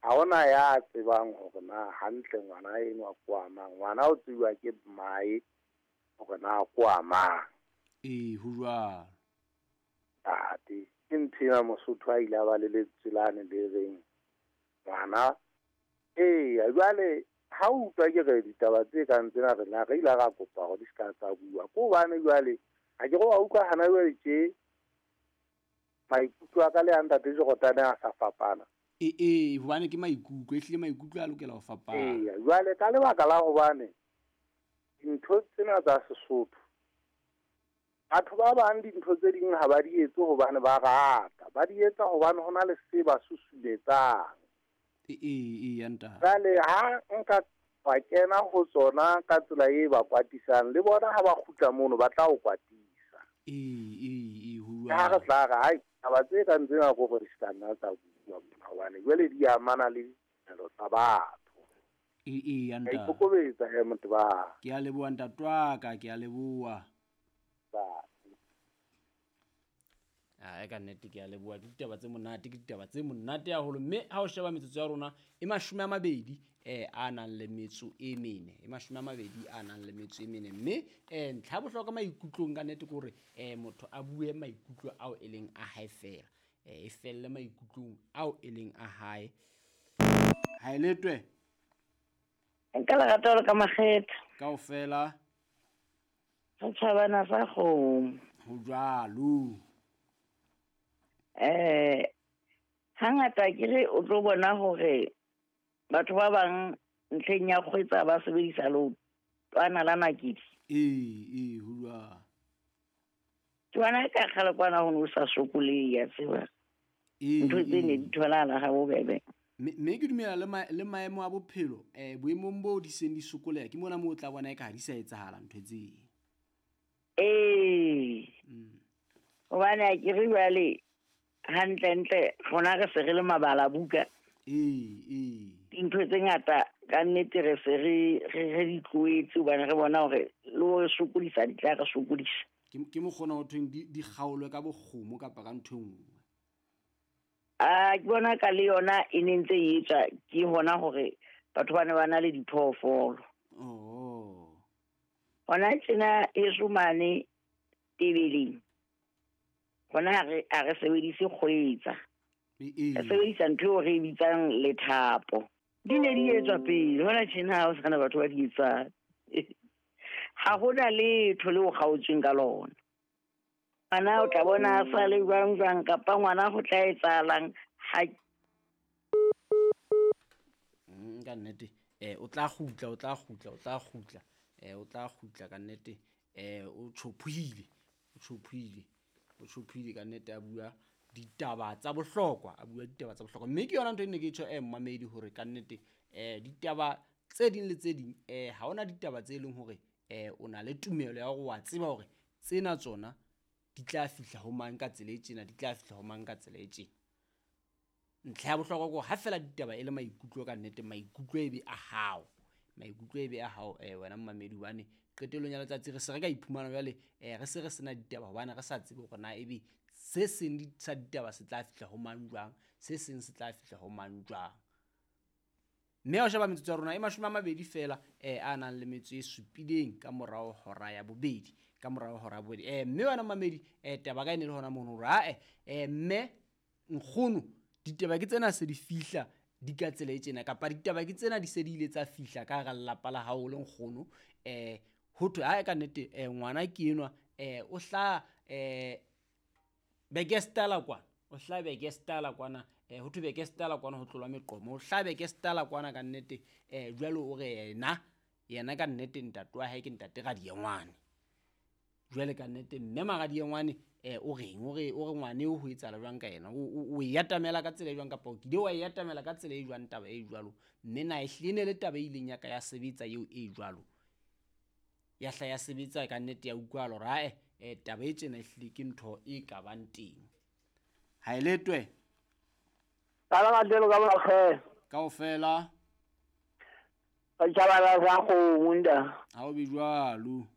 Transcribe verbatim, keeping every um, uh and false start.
Ha hona ya tsebang hore na hantle ngwana enwa ke wa mang. Ngwana o tsejwa ke mmae hore na ke wa mang. Ee, ho jwalo. Ntate, ke ntho ena Mosotho a ile a ba le lentswe lane le reng ngwana. Eya, jwale ha o utlwa ke re ditaba tse kang tsena re la re ile ra kopa hore di ska tsa bua. Ke hobane jwale ha ke re wa utlwa hana jwale tje maikutlo a ka le a ntate Jordan a sa fapana. Ee, ee, hobane ke maikutlo, ehlile maikutlo a lokela ho fapana. Eya, jwale ka lebaka la hobane dintho tsena tsa Sesotho, batho ba bang dintho tse ding ha ba di etse hobane ba rata, ba di etsa hobane hona le se ba susumetsang. Ee, ee, ya ntate. Jwale ha nka wa kena ho tsona ka tsela e ba kwatisang, le bona ha ba kgutla mono ba tla o kwatisa. Ee, ee, ee, ho Ha re jwalo. tla re hai taba tse kang tsena ko gore di ska nna tsa bua mona hobane jwale di amana le ditumelo tsa batho. Ee, ee, ya Ka ntate. ikokobetsa he motho ba. Ke a leboha ntate wa ka, ke a leboha. Ae, ka nnete ke a leboha. Ke ditaba tse monate, ke ditaba tse monate haholo. Mme ha o sheba metsotso ya rona e mashome a mabedi eh a nang le metso e mene, e mashome a mabedi a nang le metso e mene. Mme eh ntlha ya bohlokwa maikutlong ka nnete ke hore eh motho a bue maikutlo ao e leng a hae feela, eh e felle maikutlong ao e leng a hae. Ha e letwe. Nka lerato le ka makgetha. Kaofela. Setjhabana sa kgomo. Ho jwalo. Eh, hangata ke re o tlo bona hore batho ba bang ntlheng ya kgwetsa ba sebedisa leotwana la nakedi. Ee, ee, ho jwalo. Ke bona ka kgale kwana ho no sa sokolehe, ya tseba. Ee, Ntho tse ne ee. di tholahala ha bobebe. Mme, mme ke dumela le ma-, le maemo a bophelo, eh, boemong boo di seng di sokoleha, ke mona moo o tla bona eka ha di sa etsahala ntho tseo. Ee. Mm. Hobane ha ke re jwale hantlentle rona re se re le mabala buka. Ee, ee. Dintho tse ngata ka nnete re se re, re, re di tlohetse hobane re bona hore le ho re sokodisa di tla re sokodisa. Ke, ke mokgona ho thweng di, di kgaolwe ka bokgomo kapa ka ntho e nngwe. Ah, ke bona ka le yona e ne ntse e etswa ke hona hore batho ba ne ba na le diphoofolo. Oh. Hona tjena heso mane Tebeleng, hona ha re, ha re sebedise kgwetsa. E, e. Re sebedisa ntho eo re e bitsang lethapo. Di ne di etswa pele, hona tjena ha ho sana batho ba di etsang. Ha hona letho leo kgaotsweng ka lona. Ngwana o tla bona a sa le jwang jwang kapa ngwana ho tla etsahalang ha Mm, ka nnete, eh, o tla kgutla, o tla kgutla, o tla kgutla. Eh, o tla kgutla ka nnete. Eh, o tjhophohile, o tjhophohile, o tjhophohile ka nnete a bua ditaba tsa bohlokwa, a bua ditaba tsa bohlokwa. Mme ke yona ntho e ne ke tjho, eh, mmamedi hore ka nnete, eh, ditaba tse ding le tse ding, eh, ha hona ditaba tse leng hore, eh, o na le tumelo ya hore wa tseba hore tsena tsona di tla fihla ho mang ka tsela e tjena, di tla fihla ho mang ka tsela e tjena. Ntlha ya bohlokwa ke hore ha feela ditaba e le maikutlo ka nnete, maikutlo e be a hao. Maikutlo e be a hao, eh, wena mmamedi, hobane qetellong ya letsatsi re se re ka iphumana jwale, eh, re se re sena ditaba hobane re sa tsebe hore na ebe se seng di-, sa ditaba se tla fihla ho mang jwang, se seng se tla fihla ho mang jwang. Mme ha o sheba metsotso ya rona e mashome a mabedi feela, eh, a nang le metso e supileng ka morao hora ya bobedi, ka morao hora ya bobedi. Eh, mme wena mmamedi, eh, taba ka e ne le hona mono hore, ha-eh, eh, mme nkgono, ditaba ke tsena se di fihla di ka tsela e tjena, kapa ditaba ke tsena di se di ile tsa fihla ka hara lelapa la hao le nkgono. Eh, ho thwe, ha-eh, ka nnete, eh, ngwana ke enwa, eh, o hlaha, eh, Bekestala kwana, o hlaha Bekestala kwana, eh, ho thwe Bekestala kwana ho tlolwa meqomo, o hlaha Bekestala kwana ka nnete, eh, jwale o re yena, yena ka nnete ntate wa hae ke ntate Radiengwane. Jwale ka nnete mme Maradiengwane, eh, o reng? O re, o re ngwane eo ho etsahala jwang ka yena? O, o, o e atamela ka tsela e jwang kapa o kile wa e atamela ka tsela e jwang taba e jwalo? Mme na ehlile ne le taba e ileng ya ka ya sebetsa eo e jwalo? Ya hla ya sebetsa ka nnete ya utlwahala hore, ha-eh, eh, taba e tjena ehlile ke ntho e ka bang teng. Ha e letwe? Ka la kajeno ka makgetho. Kaofela. Ka tjhabana sa kgomo, nta. Ha o be jwalo.